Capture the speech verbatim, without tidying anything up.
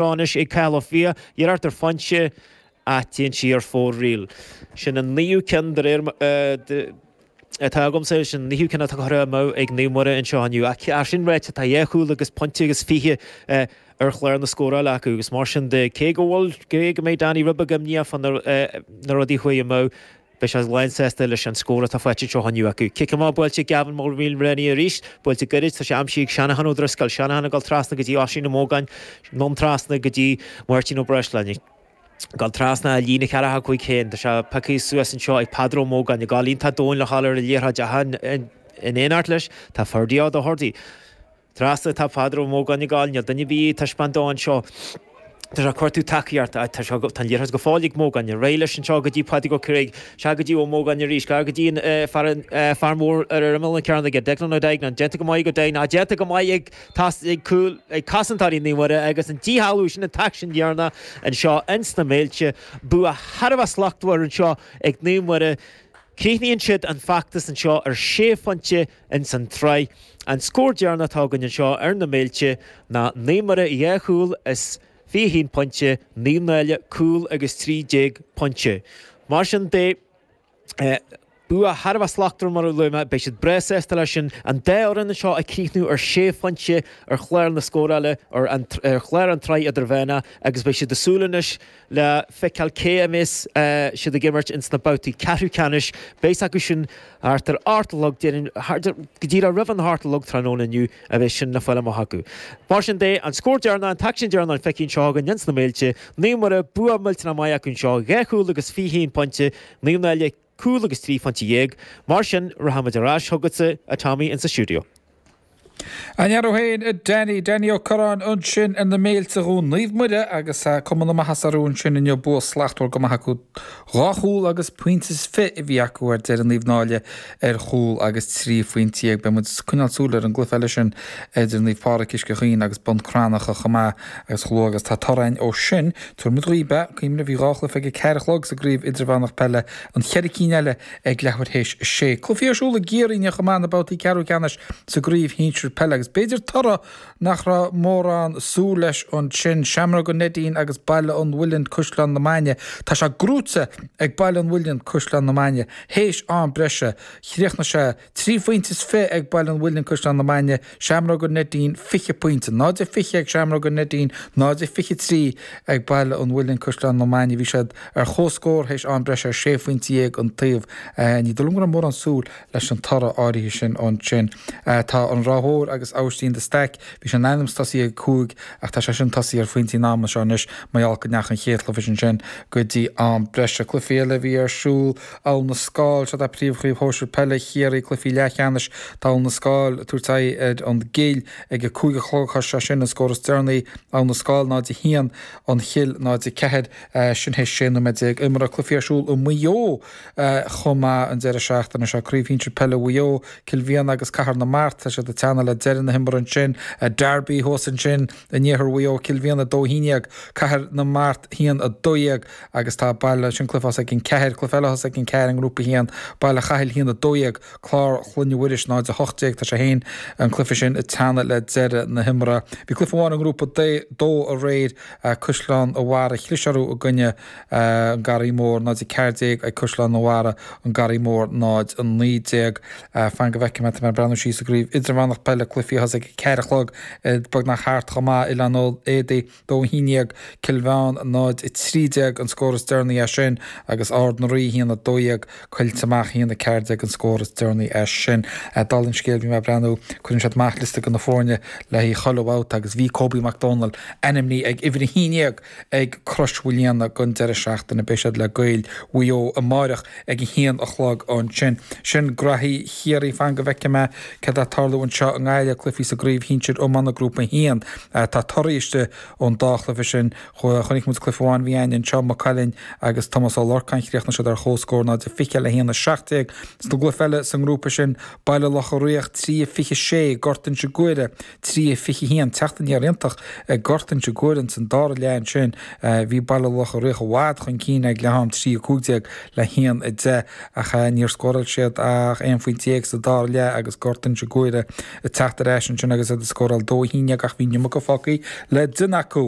Anois ag Cathal Ó Fiaich, iarracht ar phointe ach téann sí ar fóraoil. Sin an naoú ceann de réir atá agamsa, sin an naoú ceann atá curtha amú ag Naomh Muire anseo inniu. Ach sin ráite, tá dhá chúl agus pointe agus fiche ar chlár na scórála acu agus mar sin de, cé go bhfuil, cé go mbeidh Danny Ribbeag imníoch fá na rudaí a chuaigh amú, Beidh sé lánsásta leis an scór atá faighte anseo inniu acu. Cic amach buailte ag Gavin Mulreany arís, buailte gairid, tá sé aimsithe ag Shanahan Ó Drisceoil. Shanahan ag dul trasna go dtí Oisín Ó Mógáin, anonn trasna go dtí Máirtín Ó Breisleáin. Ag dul trasna a líne ceathracha cúig féin, tá sé pioctha suas anseo ag Peadar Ó Mógáin, ag dul iontach domhain le dhul ar an liathróid ach in éineacht leis tá Ferdie Ó Dochartaigh. Trasna atá Peadar Ó Mógáin ag gabháil, níl duine ar bith ag taispeáint dó anseo. Tá sé ag cuartú tacaíochta. Tá sé, tá an liathróid go fóill ag Mógáin. Ar aghaidh leis anseo go dtí Pádraig Ó Carraigh. Sea go dtí Ó Mógáin arís. Gar go dtí an fear, fear mór ar imeall na cearnóige, Declan Ó Duigneáin. Déanta go maith ag Ó Duigneáin. Déanta go maith ag, ag cúl, ag cosantóirí Naomh Muire agus an díshealbhú sin an t-aicsean dheireanach anseo ins na Méilte. Bua thar a bheith slachtmhar anseo ag Naomh Muire. Críochnaíonn siad an feachtas anseo ar sé phointe ins an tsraith. An scór deireanach atá againn anseo ar na Méilte ná Naomh Muire dhá chúl is fiche haon pointe, Naomh Náille cúl agus trí déag pointe. Mar sin de, bua thar a bheith slachtmhar mar a luaigh mé, beidh siad breá sásta leis sin. An dá fhoireann anseo ag críochnú ar sé phointe ar chlár na scórála, ar chlár an tsraith idirmheánach agus beidh siad ag súil anois le feiceáil cé a mbeas siad ag imirt ins na babhtaí ceathrú ceannais. Beidh acu sin thart ar ocht a chlog, déarfainn, go díreach roimh an hocht a chlog tráthnóna inniu a bheas sin le fáil amach acu. Mar sin de, an scór deireanach, an t-aicsean deireanach feicthe anseo againn ins na Méilte, Naomh Muire, bua millteanach maith acu anseo, dhá chúl agus fiche haon pointe, Naomh Náille cúl agus trí phointe dhéag. Mar sin, rachaimid ar ais chugatsa, a Tommy, insa stiúideo. An fhear féin, a Danny, Danny Ó Curráin ansin ar na Méilte do Naomh Muire agus cuma na maitheasa orthu ansin inniu, bua slachtmhar go maith acu. Dhá chúl agus pointe is fiche a bhí acu ar deireadh Naomh Náille ar chúl agus trí phointe dhéag. Beidh muid ag coinneáil súil ar an gcluiche eile sin idir Naomh Pádraig Uisce Chaoin agus Bun Cranncha chomh maith agus chomh luath agus tá toradh againn ó sin, tabharfaidh muid dhaoibh é. Cuimhnigh, bhí dhá chluiche ag a ceathair a chlog sa gcraobh idirmheánach peile, an cheithre cinn eile ag leathuair théis a sé. Cluichí ar siúl i gCiarraí inniu chomh maith, na babhtaí ceathrú ceannais sa gcraobh shinsir peile agus b'fhéidir toradh nach raibh mórán súil leis ansin, Seamróg an Neidín agus Baile an Mhuilinn, Caisleán na Mainge. Tá sé gnóite ag Baile an Mhuilinn, Caisleán na Mainge théis am breise. Chríochnaigh sé trí phointe is fiche ag Baile an Mhuilinn, Caisleán na Mainge, Seamróg an Neidín fiche pointe, náid a fiche ag Seamróg an Neidín, náid a fiche trí ag Baile an Mhuilinn, Caisleán na Mainge. Bhí siad ar comhscór théis am breise ar sé phointe dhéag an taobh. Ní dóigh liom go raibh mórán súil leis an toradh áirithe sin ansin. Tá an Ráth Mhór agus Abhaistín de Staic, bhí sé in ainm is tosaí ag cúig ach tá sé sin tosaí ar phointí an ama seo anois mar gheall go ndeachaigh an chéad chluiche sin go dtí am breise. Cluichí eile a bhí ar siúl, Abhail na Scáil, seo príomhchraobh shóisir peile Chiarraí, cluichí leathcheannais, tá Abhail na Scáil ag tabhairt aghaidh ar an gCill ag a cúig a chlog, tá sé sin an scór is deireanaí, Abhail na Scáil náid a haon, An Chill náid a ceathair, sin théis sé nóiméad déag imeartha. Cluichí ar siúl i Maigh Eo chomh maith an deireadh seachtaine seo, Craobh Shinsir Peile Mhaigh Eo, Cill Mhianna agus Cathair na Mart, tá siad ag teannadh le deireadh na himeartha ansin. Derby thuas ansin in iarthar Mhaigh Eo, Cill Mhianna a dó a haon déag, Cathair na Mart a haon a dó dhéag agus tá Baile, sin cluiche a thosaigh ag an ceathair, cluiche eile a thosaigh ag an ceathair i nGrúpa a haon, Baile Chathail a haon a dó dhéag, Clár Chloinne Mhuiris náid a hocht déag, tá sé féin, an cluiche sin ag teannadh le deireadh na himeartha. Bhí cluiche amháin i nGrúpa dó aréir, Caisleán a' Bharraigh, chlis orthu i gcoinne An Garraí Mór, náid a ceathair déag ag Caisleán an Bharraigh, An Garraí Mór, náid a naoi déag. Fan go bhfeicfidh mé, tá mé ag breathnú síos i gcraobh idirmheánach peile, cluichí a thosaigh ag a ceathair a chlog, beagnach thart chomh maith, Oileán Éadaí, dó a haon déag, Cill Mheáin, náid a trí déag an scór is deireanaí as sin agus Ard na Rí, a haon a dó dhéag, Coillte Mach, a haon a ceathair déag an scór is deireanaí as sin. Dála an scéil, bhí mé ag breathnú, cuireann siad amach liosta de na foirne le haghaidh chuile bhabhta agus bhí Kobe Mac Dónaill ainmnithe ag uimhir a haon déag ag Crois Mhaoilíona don deireadh seachtaine. Beidh siad le Gaeil Mhaigh Eo amáireach ag a haon a chlog ansin. Sin graithí Chiarraí. Fan go bhfeicfidh mé céard atá ag tarlú anseo i nGaillimh, cluichí sa gcraobh shinsir iomána Grúpa a haon. Tá torthaí istigh ón dá chluiche sin. Chonaic muid cluiche amháin a bhí againn anseo, Maigh Cuilinn agus Tomás Ó Lorcáin. Chríochnaigh siad ar chomhscór náid a fiche le haon a seacht déag. Sa gcluiche eile sa ngrúpa sin, Baile Locha Riach trí a fiche sé, Gort Inse Guaire trí a fiche haon. Teacht aniar iontach ag Gort Inse Guaire ins an dara leath ansin. Bhí Baile Locha Riach i bhfad chun cinn ag leath am, trí a cúig déag le haon a deich, ach níor scóráil siad ach aon phointe déag sa dara leath agus Gort Inse Guaire ag teacht teacht ar ais ansin agus iad ag scóráil dó a haon déag ach bhí an iomarca fágtha le duine acu.